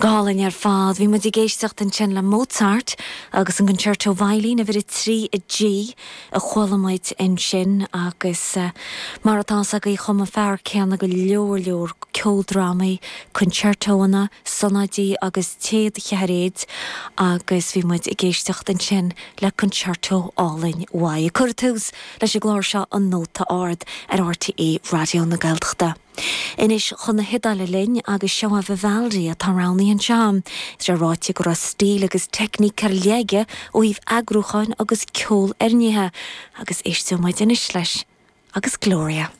Go hálainn ar fad. Bhí muid ag éisteacht ansin le Mozart agus an Concerto Veidhlín uimhir 3 i G a chuala muid ansin agus mar atá fhios agaibh chum an fear céanna go leor leor ceoldrámaí, concertóanna, sonáidí agus téadcheathairéid agus bhí muid ag éisteacht ansin le concerto álainn uaidh. Ag cur tús leis an gclár seo An Nóta Ard ar RTÉ Raidió na Gaeltachta. Anois chun na hIodáile linn agus seo é Vivaldi atá roghnaithe anseo. Is é ráite go raibh stíl agus teicníc ar leith aige ó thaobh eagrúcháin agus ceolfhoirnithe agus éisteoidh muid anois leis agus Gloria.